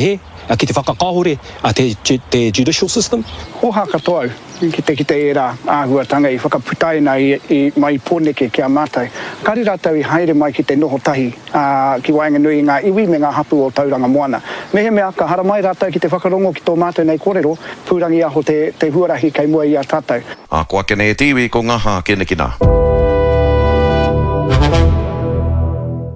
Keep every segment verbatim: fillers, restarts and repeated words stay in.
Hē, ki te whakakāhore te, te judicial system. Hōhā katoa au ki te kite ērā āhuatanga i whakaputaina i, i mai Pōneke ki a mātou. Kāre rātou i haere mai ki te noho tahi ki waenganui i ngā iwi me ngā hapū o Tauranga Moana. Mehemea ka haramai rātou ki te whakarongo ki tō mātou nei kōrero, pūrangiaho te, te huarahi kei mua i a tātou. Ā, ko ake nei e te iwi ko ngā hākinakina.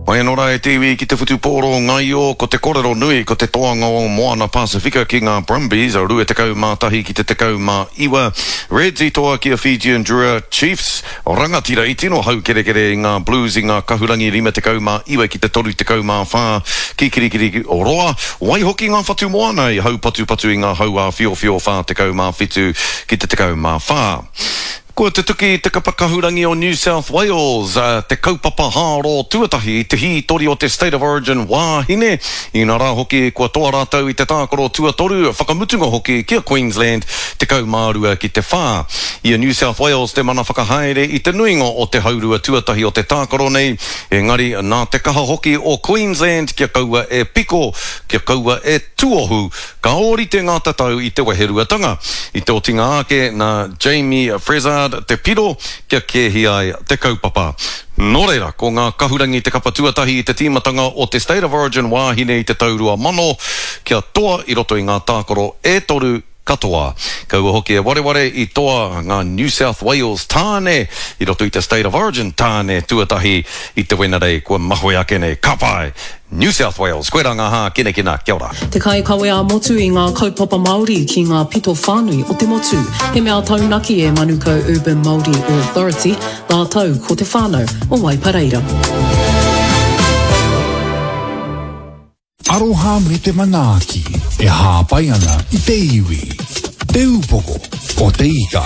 Mai anō rā e te iwi ki te whutupōro ngaio, ko te korero nui ko te toanga o Moana Pasifika ki ngā Brumbies, rua tekau mā tahi ki te tekau mā iwa. Reds i toa ki a Fijian Drua, Chiefs, rangatira i tino haukerekere i ngā Blues i ngā kahurangi rima tekau mā iwa ki te toru tekau mā whā ki Kirikiri Roa. Waihoki ngā whatu moana i haupatupatu i ngā hau āwhiowhio whā tekau mā whitu ki te tekau mā whā. Kua tutuki te kapa kahurangi o New South Wales te kaupapa hāro tuatahi i te hītori o te State of Origin wāhine, inā rā hoki kua toa rātou i te tākaro tuatoru, whakamutunga hoki ki a Queensland tekau mā rua ki te whā. I a New South Wales te mana whakahaere i te nuinga o te haurua tuatahi o te tākaro nei, engari nā te kaha hoki o Queensland kia kaua e piko, kia kaua e tuohu, ka ōrite ngā tatau i te weheruatanga. I te otinga ake nā Jamie Frezard te piro kia kēhi ai te kaupapa. Nō reira, ko ngā kahurangi te kapa tuatahi i te tīmatanga o te State of Origin wāhine i te tau rua mano, kia toa i roto i ngā tākaro e toru katoa. Kaua hoki e wareware i toa ngā New South Wales tāne i roto i te State of Origin tāne tuatahi i te Wenerei kua mahue ake nei. Ka pai! New South Wales! Koirā ngā hākinakina. Kia ora! Te kaikawe ā-motu i ngā kaupapa Māori ki ngā pito whānui o te motu. He mea taunaki e Manukau Urban Māori Authority rātou ko te whānau o Waipareira. Aroha me te manaaki e hāpai ana i te iwi. Te Upoko o te Ika.